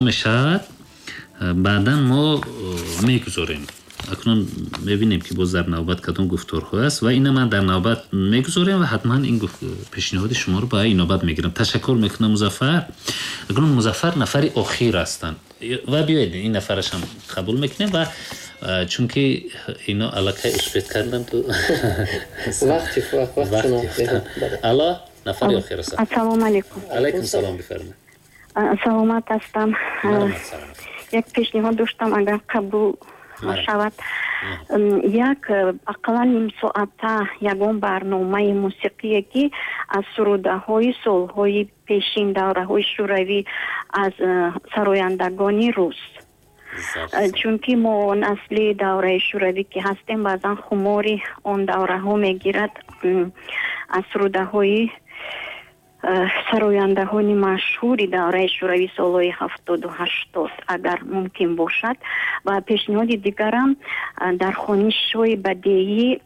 Мешавад, баъдан мо мегузорем. Акнун мебинем, ки боз дар навбат кадом гуфторҳо аст ва ина ман дар навбат мегузорем ва ҳатман ин пешниҳоди шуморо ба инобат мегирам. Ташаккур мекунам, Музаффар. Акнун Музаффар нафари охир ҳастанд ва биёед, ин нафарашам қабул мекунем ва чунки ино аллакай успеть кардам ту. Вақт. Алло, нафари охир ҳастанд. Ассалому алайкум. Алайкум салом, бифармоед. Саломат ҳастам. Як пешниҳод доштам, агар қабул шавад. Як ақаллан нимсоата ягон барномаи мусиқие, ки аз сурудаҳои солҳои пешин, давраҳои шӯравӣ, аз сарояндагони рус, чунки мо насли давраи шӯравӣ ки ҳастем, баъзан хумори он давраҳо мегирад, аз сурудаҳои сарояндаҳои машҳури давраи шӯравӣ, солҳои 70-у 80, агар мумкин бошад. Ва пешниҳоди дигарам дар хонишҳои бадеӣ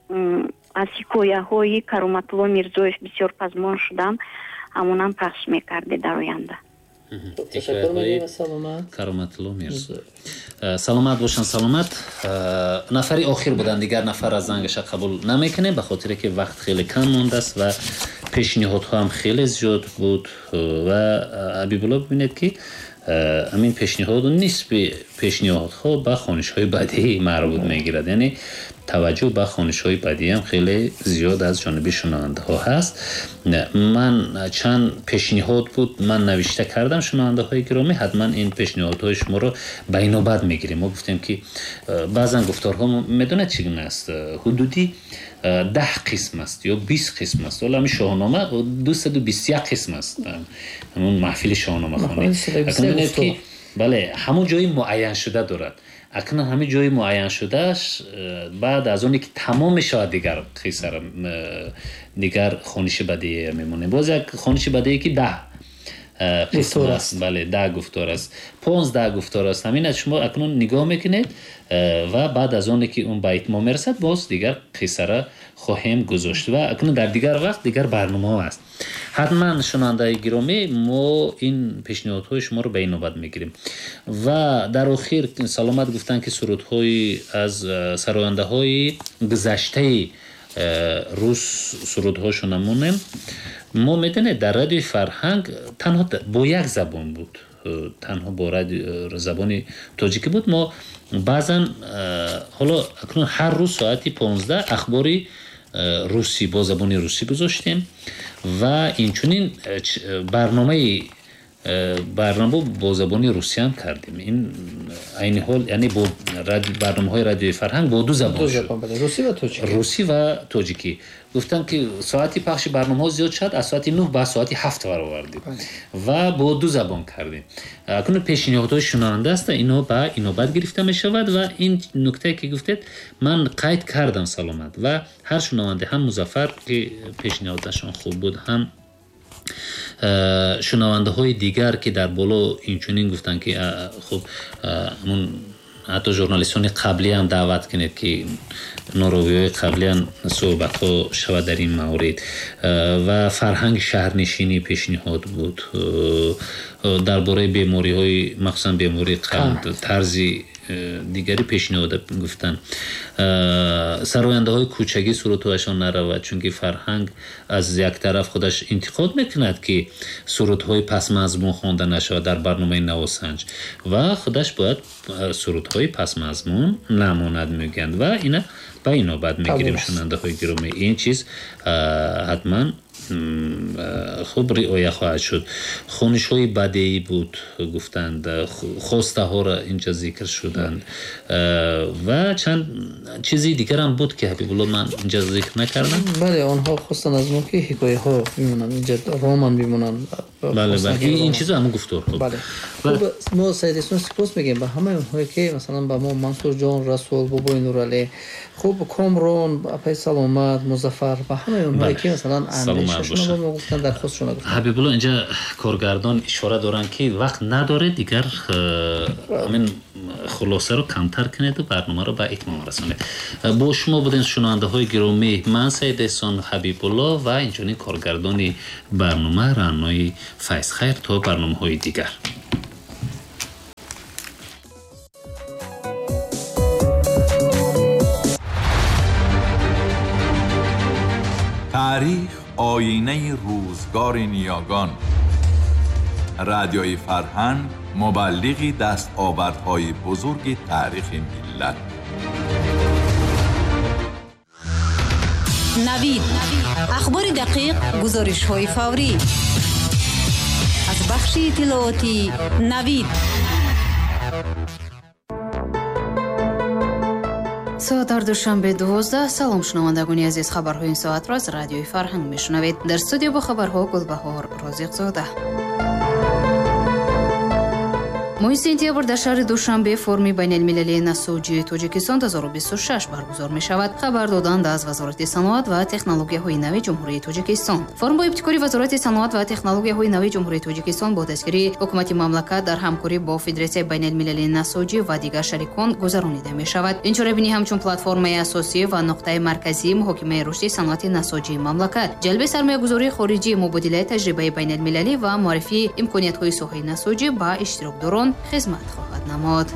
аз ҳикояҳои Кароматулло Мирзоев, бисёр пазмон шудам, ҳамонам пахш мекарде дар оянда. Ташаккур мегӯем, саломат. Кароматулло Мирзоев, саломат бошанд, саломат. Нафари охир буданд, дигар нафар аз зангаша қабул намекунем, ба хотире ки вақт хеле кам мондааст ва пешниҳодҳо ҳам хеле зиёд буд. Ва, Ҳабибулло, бибинед, ки ҳамин пешниҳоду нисфи пешниҳодҳо ба хонишҳои бадеӣ марбут мегирад, яъне таваҷҷӯҳ ба хонишҳои бадеӣ ҳам хеле зиёд аз ҷониби шунавандаҳо ҳаст. Ман чанд пешниҳод буд, ман навишта кардам. Шунавандаҳои гиромӣ, ҳатман ин пешниҳодҳои шуморо ба инобат мегирем. Мо гуфтем, ки баъзан гуфторҳо, медонед, чӣ гуна аст, ҳудуди 10 қисм аст ё 20 қисм аст. Ҳоло ҳамин Шоҳнома 221 қисм аст, ҳамун маҳфили шоҳномахонӣ ки, бале, ҳамун ҷои муайяншуда дорад. Акнун ҳамин ҷои муайяншудааш баъд аз оне ки тамом мешавад, дигар қиссара, дигар хониши бадеия мемонем. Боз як хониши бадеие, ки 10 қисм аст, бале, 10 гуфтор аст, 15 гуфтор аст. Ҳамин аз шумо акнун нигоҳ мекунед ва баъд аз оне ки он ба итмом мерасад, боз дигар қиссара хоҳем гузошт. Ва акнун дар дигар вақт дигар барномаҳо аст. Ҳатман, шунавандаи гиромӣ, мо ин пешниҳодҳои шуморо ба инобат мегирем. Ва дар охир Саломат гуфтанд, ки сурудҳои аз сарояндаҳои гузаштаи рус сурудҳошо намонем. Мо, медонед, дар Радиои Фарҳанг танҳо бо як забон буд, танҳо бо забони тоҷикӣ буд. Мо баъзан, ҳоло акнун ҳар рӯз соати 15 ахбори русӣ бо забони русӣ гузоштем ва инчунин барнома бо забони русиям кардем. Ин айни ҳол, яъне бо барномаҳои Радиои Фарҳанг бо ду забон шуд: русӣ ва тоҷикӣ. Гуфтам, ки соати пахши барномаҳо зиёд шуд, аз соати 9 ба соати 7 баровардем ва бо ду забон кардем. Акнун пешниҳодҳои шунаванда аст, инҳо ба инобат гирифта мешавад. Ва ин нуктае, ки гуфтед, ман қайд кардам, Саломат, ва ҳар шунаванде, ҳам Музаффар, ки пешниҳодашон хуб буд, ҳам шунавандаҳои дигар, ки дар боло инчунин гуфтанд, ки хуб, ҳамун ҳатто журналистони қаблиам даъват кунед, ки норовиҳои қаблиам суҳбатҳо шавад дар ин маврид. Ва фарҳанги шаҳрнишинӣ пешниҳод буд, дар бораи бемориҳои, махсусан бемории қанд, тарзи дигари пешниҳод гуфтанд. Сарояндаҳои кӯчагӣ сурудҳояшон наравад, чунки Фарҳанг аз як тараф худаш интиқод мекунад, ки сурудҳои пасмазмун хонда нашавад дар барномаи Навосанҷ, ва худаш бояд сурудҳои пасмазмун намонад, мегӯянд, ва ина ба инобат мегирем. Шунавандаҳои гиромӣ, ин чиз ҳатман хуб риоя хоҳад шуд. Хонишҳои бадеӣ буд, гуфтанд, хостаҳоро инҷа зикр шуданд ва чанд чизи дигарам буд, ки, Ҳабибулло, ман инҷа зикр накардам. Бале, онҳо хостанд аз мо, ки ҳикояҳо бимонанд инҷа, роман бимонанд. Бале, ин чизо ҳамун гуфторҳо. Бале, мо, Саид Эҳсон, сипос мегӯем ба ҳамаи онҳое, ки масалан ба мо, Мансурҷон, Расул, бобои Нуралӣ, хуб, Комрон, апаи Саломат, Музаффар, ба ҳамаи онҳое, ки масалан андешашонро ба мо гуфтанд, дархостшонро гуфтанд. Ҳабибулло, инҷа коргардон ишора доранд, ки вақт надоред дигар, ҳамин хулосаро камтар кунеду барномаро ба итмом расонед. Бо шумо будем, шунавандаҳои гиромӣ, ман, Саид Эҳсон, Ҳабибулло ва инчунин коргардони барнома Раънои Файзхайр. То барномаҳои дигар. تاریخ آینه روزگار نیاگان. رادیوی فرهنگ مبلغی دستاوردهای بزرگ تاریخ ملت. نوید، اخبار دقیق، گزارش‌های فوری از بخش اطلاعاتی نوید. Соат дар Душанбе 12. Салом, шунавандагони азиз, хабарҳои ин соатро аз радиои Фарҳанг мешунавед. Дар студия бо хабарҳо Гулбаҳор Розиқзода. Моҳи сентябр дар шаҳри Душанбе форуми байналмилалии насоҷии Тоҷикистон 2026 баргузор мешавад. Хабар доданд аз Вазорати саноат ва технологияҳои нави Ҷумҳурии Тоҷикистон. Форум бо ибтикори Вазорати саноат ва технологияҳои нави Ҷумҳурии Тоҷикистон бо дастгирии ҳукумати мамлакат дар ҳамкорӣ бо Федератсияи байналмилалии насоҷӣ ва дигар шарикон гузаронида мешавад. Ин чорабинӣ ҳамчун платформаи асосӣ ва нуқтаи марказии муҳокимаи рушди саноати насоҷии мамлакат, ҷалби сармоягузории хориҷӣ, мубодилаи таҷрибаи байналмилалӣ ва муаррифии имкониятҳои соҳаи насоҷӣ ба иштирокдорон хизмат хоҳад намуд.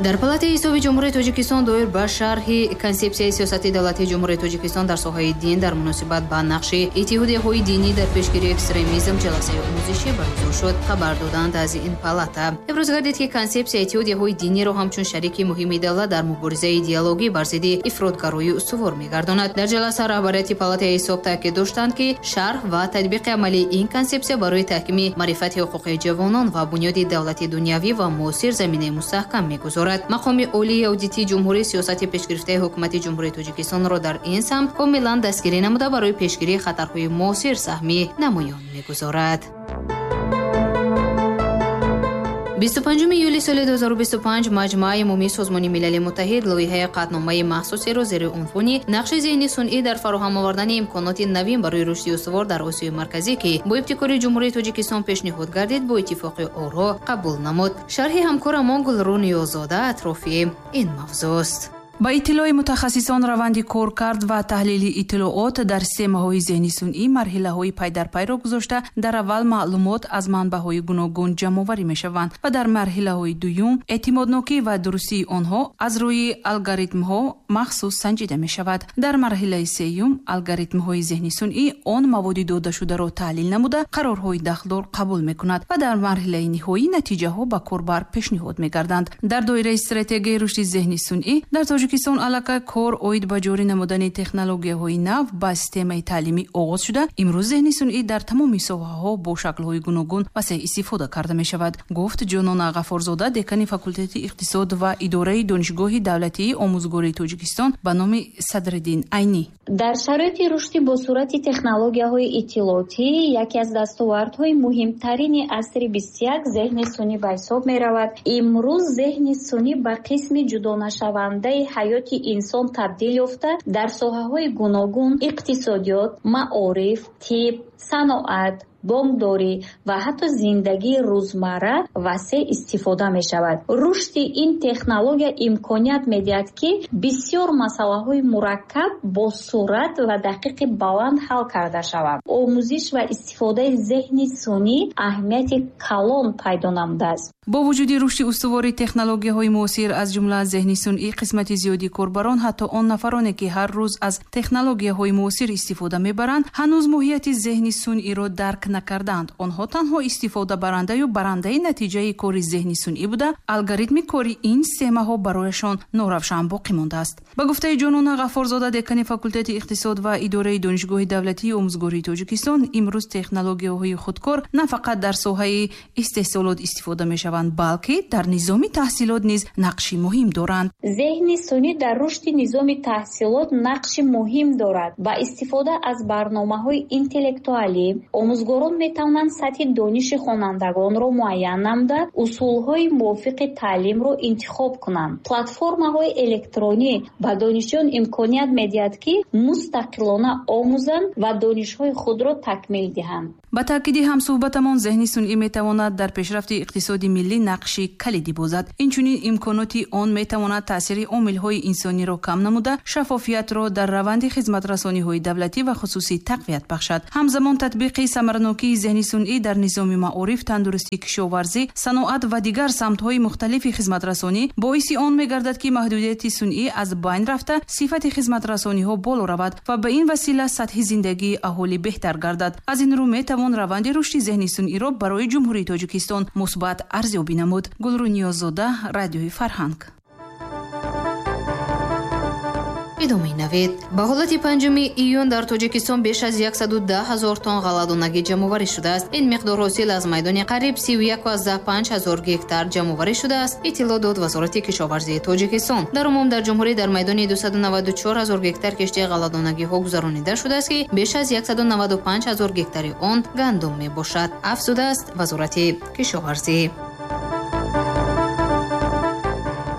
Дар Палатаи ҳисоби Ҷумҳурии Тоҷикистон доир ба шарҳи консепсияи сиёсати давлатии Ҷумҳурии Тоҷикистон дар соҳаи дин дар муносибат ба нақши иттиҳодияҳои динӣ дар пешгирии экстремизм ҷаласаи омӯзишӣ баргузор шуд. Хабар доданд аз ин палата. Иброз гардид, ки консепсия иттиҳодияҳои диниро ҳамчун шарики муҳими давлат дар муборизаи идеологӣ бар зидди ифротгароӣ устувор мегардонад. Дар ҷаласа раҳбарияти Палатаи ҳисоб таъкид доштанд, ки шарҳ ва татбиқи амалии ин консепсия барои таҳкими маърифати ҳуқуқии ҷавонон ва бунёди давлати дунявӣ ва муосир заминаи мустаҳкам мегузорад. Мақоми олии аудитии ҷумҳурӣ сиёсати пешгирифтаи ҳукумати Ҷумҳурии Тоҷикистонро дар ин самт комилан дастгирӣ намуда барои пешгирии хатарҳои муосир саҳми намоён мегузорад. 25 июли соли 2025 Маҷмааи умумии Созмони Милали Муттаҳид лоиҳаи қатъномаи махсусеро зери унвони нақши зеҳни сунъӣ дар фароҳам овардани имконоти навин барои рушди устувор дар Осиёи Марказӣ, ки бо ибтикори Ҷумҳурии Тоҷикистон пешниҳод гардид, бо иттифоқи оро қабул намуд. Шарҳи ҳамкорамон Гулрӯ Ниёзода атрофи ин мавзӯст. Ба иттилои мутахассисон, раванди коркард ва таҳлили иттилоот дар системаҳои зеҳни сунъӣ марҳилаҳои пайдарпайро гузошта, дар аввал маълумот аз манбаъҳои гуногун ҷамъоварӣ мешаванд ва дар марҳилаҳои дуюм эътимоднокӣ ва дурустии онҳо аз рӯи алгоритмҳо махсус санҷида мешавад. Дар марҳилаи сеюм алгоритмҳои зеҳни сунъӣ он маводи додашударо таҳлил намуда қарорҳои дахлдор қабул мекунад ва дар марҳилаи ниҳоӣ натиҷаҳо ба корбар пешниҳод мегарданд. Дар доираи стратегияи рушди зеҳни сунъӣ дар Тоҷикистон аллакай кор оид ба ҷорӣ намудани технологияҳои нав ба системаи таълимӣ оғоз шуда, имрӯз зеҳни сунъӣ дар тамоми соҳаҳо бо шаклҳои гуногун васеъ истифода карда мешавад, гуфт Ҷонона Ғафорзода, декани факултети иқтисод ва идораи Донишгоҳи давлатии омӯзгории Тоҷикистон ба номи Садриддин Айнӣ. Дар шароити рушди босуръати технологияҳои иттилоотӣ яке аз дастовардҳои муҳимтарини асри 21 зеҳни сунъӣ ба ҳисоб меравад. Имрӯз зеҳни сунъӣ ба қисми ҷудонашавандаи ҳаёти инсон табдил ёфта, дар соҳаҳои гуногун иқтисодиёт, маориф, тиб, саноат, бонкдорӣ ва ҳатто зиндагии рӯзмарра васеъ истифода мешавад. Рушди ин технология имконият медиҳад, ки бисёр масъалаҳои мураккаб бо суръат ва дақиқи баланд ҳал карда шаванд. Омӯзиш ва истифодаи зеҳни сунъӣ аҳамияти калон пайдо намудааст. Бо вуҷуди рушди устувори технологияҳои муосир, аз ҷумла зеҳни сунъӣ, қисмати зиёди корбарон, ҳатто он нафароне, ки ҳар рӯз аз технологияҳои муосир истифода мебаранд, ҳанӯз моҳияти зеҳни сунъиро дарк накарданд. Онҳо танҳо истифодабарандаю барандаи натиҷаи кори зеҳни сунъӣ буда, алгоритми кори ин системаҳо барояшон норавшан боқӣ мондааст. Ба гуфтаи Ҷонона Ғафорзода, декани факултети иқтисод ва идораи Донишгоҳи давлатии омӯзгории Тоҷикистон, имрӯз технологияҳои худкор на фақат дар соҳаи истеҳсолот истифода мешаванд, балки дар низоми таҳсилот низ нақши муҳим доранд. Зеҳни сунъӣ дар рушди низоми таҳсилот нақши муҳим дорад. Ба истифода аз барномаҳои интеллектуалӣ омӯзгорон метавонанд сатҳи дониши хонандагонро муайян намуда, усулҳои мувофиқи таълимро интихоб кунанд. Платформаҳои электронӣ ба донишҷӯён имконият медиҳад, ки мустақилона омӯзанд ва донишҳои худро такмил диҳанд. Ба таъкиди ҳамсӯҳбатамон, зеҳни сунъӣ метавонад дар пешрафти иқтисоди миллӣ нақши калидӣ бозад. Инчунин имконоти он метавонад таъсири омилҳои инсониро кам намуда, шаффофиятро дар раванди хизматрасониҳои давлатӣ ва хусусӣ тақвият бахшад. Ҳамзамон татбиқи самараноки Таъсирнокии зеҳни сунъӣ дар низоми маориф, тандурустӣ, кишоварзӣ, саноат ва дигар самтҳои мухталифи хизматрасонӣ боиси он мегардад, ки маҳдудияти сунъӣ аз байн рафта, сифати хизматрасониҳо боло равад ва ба ин васила сатҳи зиндагии аҳолӣ беҳтар гардад. Аз ин рӯ метавон раванди рушди зеҳни сунъиро барои Ҷумҳурии Тоҷикистон мусбат арзёбӣ намуд. Гулрӯ Ниёззода, Радиои Фарҳанг. Идомаи навид. Ба ҳолати 5 июн дар Тоҷикистон беш аз 110 ҳазор тонн ғалладонагӣ ҷамъоварӣ шудааст. Ин миқдор ҳосил аз майдони қариб 31,5 ҳазор гектар ҷамъоварӣ шудааст, иттилоъ дод Вазорати кишоварзии Тоҷикистон. Дар умум дар ҷумҳурӣ дар майдони 294 ҳазор гектар кишти ғалладонагиҳо гузаронида шудааст, ки беш аз 195 ҳазор гектари он гандум мебошад, афзудааст Вазорати кишоварзӣ.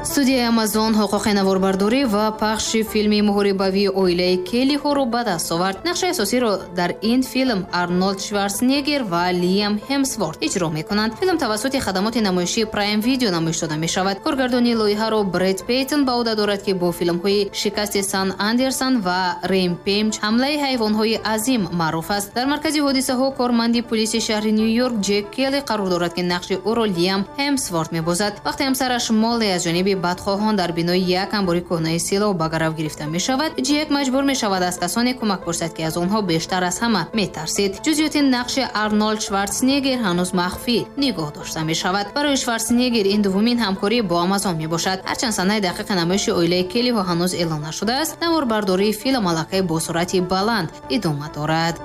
Студияи Амазон ҳуқуқи наворбардорӣ ва пахши филми муҳорибавии оилаи Келлиҳоро ба даст овард. Нақши асосиро дар ин филм Арнолд Шварценеггер ва Лиам Ҳемсворт иҷро мекунанд. Филм тавассути хадамоти намоишии Прайм Видео намоиш дода мешавад. Коргардони лоиҳаро Бред Пейтон ба ӯҳда дорад, ки бо филмҳои Шикасти Сан Андерсон ва Ремпейҷ, ҳамлаи ҳайвонҳои азим маъруф аст. Дар маркази ҳодисаҳо корманди пулиси шаҳри Ню-Йорк Ҷек Келли қарор дорад, ки нақши ӯро Лиам Ҳемсворт мебозад. Вақте ҳамсараш Молли аз ҷониби бадхоҳон дар бинои як анбори кӯҳнаи силоҳ ба гарав гирифта мешавад, Ҷек маҷбур мешавад аз касоне кӯмак пурсад, ки аз онҳо бештар аз ҳама метарсид. Ҷузъиёти нақши Арнолд Шварценеггер ҳанӯз махфӣ нигоҳ дошта мешавад. Барои Шварценеггер ин дуввумин ҳамкорӣ бо Амазон мебошад. Ҳарчанд санаи дақиқи намоиши оилаи Келлиҳо ҳанӯз эълон нашудааст, наворбардории филм аллакай бо суръати баланд идома дорад.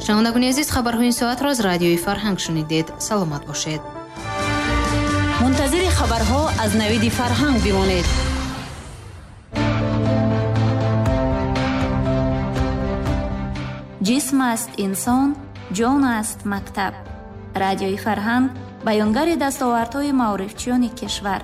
Шунавандагони азиз, хабарҳои ин соатро аз Радиои Фарҳанг шунидед. Саломат бошед. Мунтазири хабарҳо аз Навиди Фарҳанг бимонед. Ҷисм аст инсон, ҷон аст мактаб. Радиои Фарҳанг баёнгари дастовардҳои маорифчиёни кишвар.